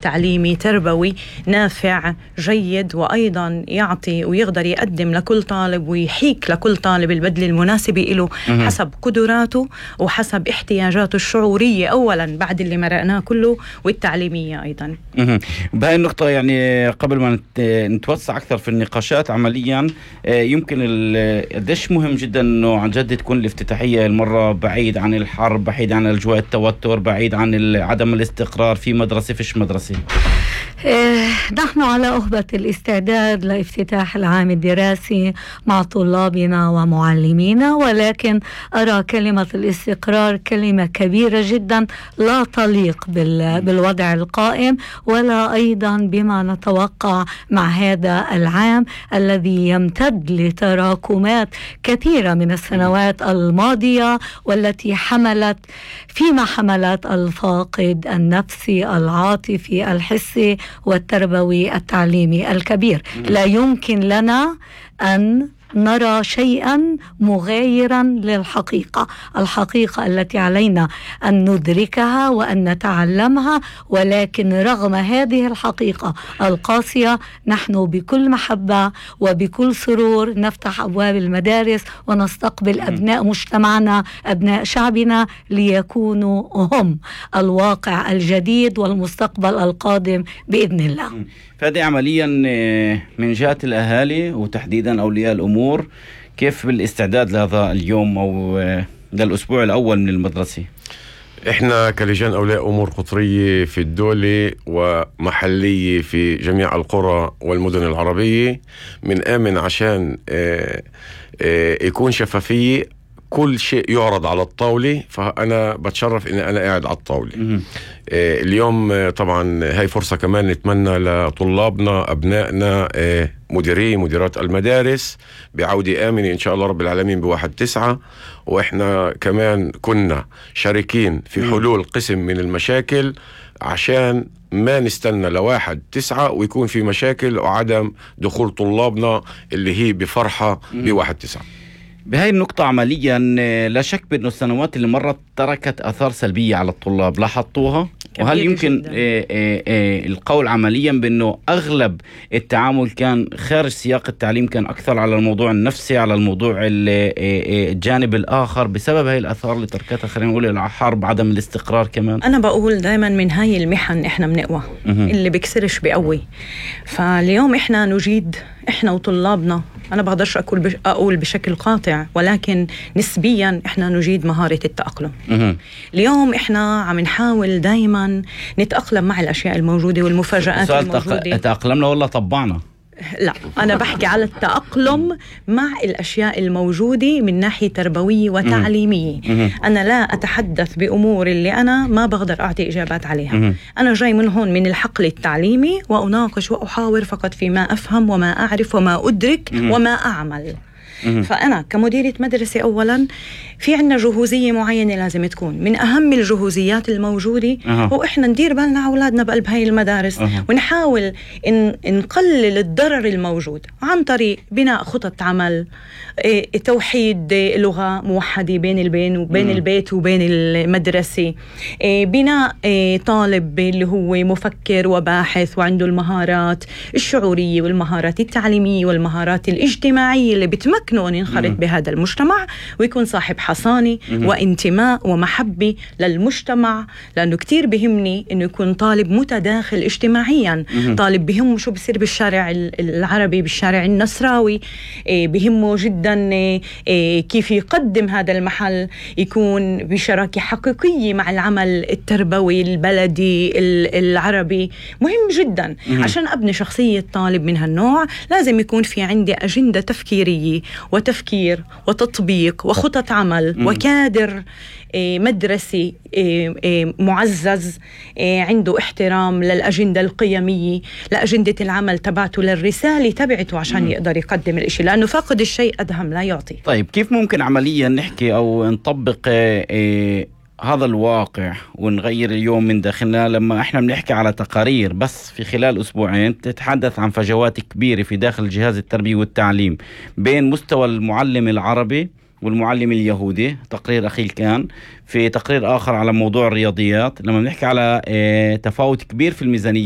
تعليمي تربوي نافع جيد، وأيضا يعطي ويقدر يقدم لكل طالب ويحيك لكل طالب البدل المناسب له حسب قدراته وحسب احتياجاته الشعورية أولا بعد اللي مرقناه كله، والتعليمية أيضا. بهاي النقطة يعني قبل ما نتوسع أكثر في النقاشات عمليا، يمكن قديش مهم جدا أنه عن جد تكون الافتتاحية المرة بعيد عن الحرب، بعيد عن أجواء التوتر، بعيد عن عدم الاستقرار، في مدرسة فيش مدرسة. نحن على أهبة الاستعداد لافتتاح العام الدراسي مع طلابنا ومعلمينا، ولكن أرى كلمة الاستقرار كلمة كبيرة جدا لا تليق بالوضع القائم، ولا أيضا بما نتوقع مع هذا العام الذي يمتد لتراكمات كثيرة من السنوات الماضية، والتي حملت الفاقد النفسي العاطفي الحسي والتربوي التعليمي الكبير. لا يمكن لنا أن نرى شيئا مغايرا للحقيقة، الحقيقة التي علينا أن ندركها وأن نتعلمها. ولكن رغم هذه الحقيقة القاسية نحن بكل محبة وبكل سرور نفتح أبواب المدارس ونستقبل أبناء مجتمعنا، أبناء شعبنا، ليكونوا هم الواقع الجديد والمستقبل القادم بإذن الله. فهذه عمليا من جهة الأهالي وتحديدا أولياء الأمور، كيف بالاستعداد لهذا اليوم أو للأسبوع الأول من المدرسة؟ إحنا كلجان أولياء أمور قطرية في الدولة ومحلية في جميع القرى والمدن العربية من آمن عشان يكون شفافية، كل شيء يعرض على الطاولة، فأنا بتشرف إن أنا قاعد على الطاولة. اليوم طبعا هاي فرصة كمان نتمنى لطلابنا أبنائنا مديرات المدارس بعودة آمنة إن شاء الله رب العالمين ب1/9. وإحنا كمان كنا شاركين في حلول قسم من المشاكل عشان ما نستنى ل1/9 ويكون في مشاكل وعدم دخول طلابنا اللي هي بفرحة ب1/9. بهاي النقطة عمليا لا شك بأنه السنوات اللي مرت تركت أثار سلبية على الطلاب، لاحظتوها؟ وهل يمكن القول عمليا بأنه أغلب التعامل كان خارج سياق التعليم، كان أكثر على الموضوع النفسي، على الموضوع الجانب الآخر، بسبب هاي الأثار اللي تركتها خلينا نقول الحرب، عدم الاستقرار كمان؟ أنا بقول دائما من هاي المحن إحنا بنقوى، اللي بكسرش بقوي. فاليوم إحنا نجيد، إحنا وطلابنا، أنا بقدرش أقول بشكل قاطع، ولكن نسبيا إحنا نجيد مهارة التأقلم. اليوم إحنا عم نحاول دايما نتأقلم مع الأشياء الموجودة والمفاجآت الموجودة. تأقلمنا ولا طبعنا؟ لا، أنا بحكي على التأقلم مع الأشياء الموجودة من ناحية تربوية وتعليمية. أنا لا أتحدث بأمور اللي أنا ما بقدر أعطي إجابات عليها. أنا جاي من هون من الحقل التعليمي وأناقش وأحاور فقط فيما أفهم وما أعرف وما أدرك وما أعمل. فأنا كمديرة مدرسة أولا في عنا جهوزية معينة لازم تكون من أهم الجهوزيات الموجودة، وإحنا ندير بالنا على أولادنا بقلب هاي المدارس، ونحاول نقلل الضرر الموجود عن طريق بناء خطط عمل، توحيد لغة موحدة بين البيت وبين المدرسة، بناء طالب اللي هو مفكر وباحث وعنده المهارات الشعورية والمهارات التعليمية والمهارات الاجتماعية اللي بتمكنه أن ينخرط بهذا المجتمع ويكون صاحب حصانة وانتماء ومحبة للمجتمع. لأنه كتير بهمني أنه يكون طالب متداخل اجتماعيا، طالب بهمه شو بصير بالشارع العربي، بالشارع النصراوي، بهمه جدا كيف يقدم هذا المحل، يكون بشراكة حقيقية مع العمل التربوي البلدي العربي. مهم جدا عشان أبني شخصية طالب من هالنوع. لازم يكون في عندي أجندة تفكيرية وتفكير وتطبيق وخطط عمل وكادر مدرسي معزز عنده احترام للأجندة القيمية، لأجندة العمل تبعته، للرسالة تبعته، عشان يقدر يقدم الاشي، لأنه فاقد الشيء أدهم لا يعطي. طيب كيف ممكن عمليا نحكي أو نطبق هذا الواقع ونغير اليوم من داخلنا، لما احنا بنحكي على تقارير بس في خلال أسبوعين تتحدث عن فجوات كبيرة في داخل جهاز التربية والتعليم بين مستوى المعلم العربي والمعلم اليهودي؟ تقرير أخير كان في تقرير آخر على موضوع الرياضيات، لما بنحكي على تفاوت كبير في الميزانيات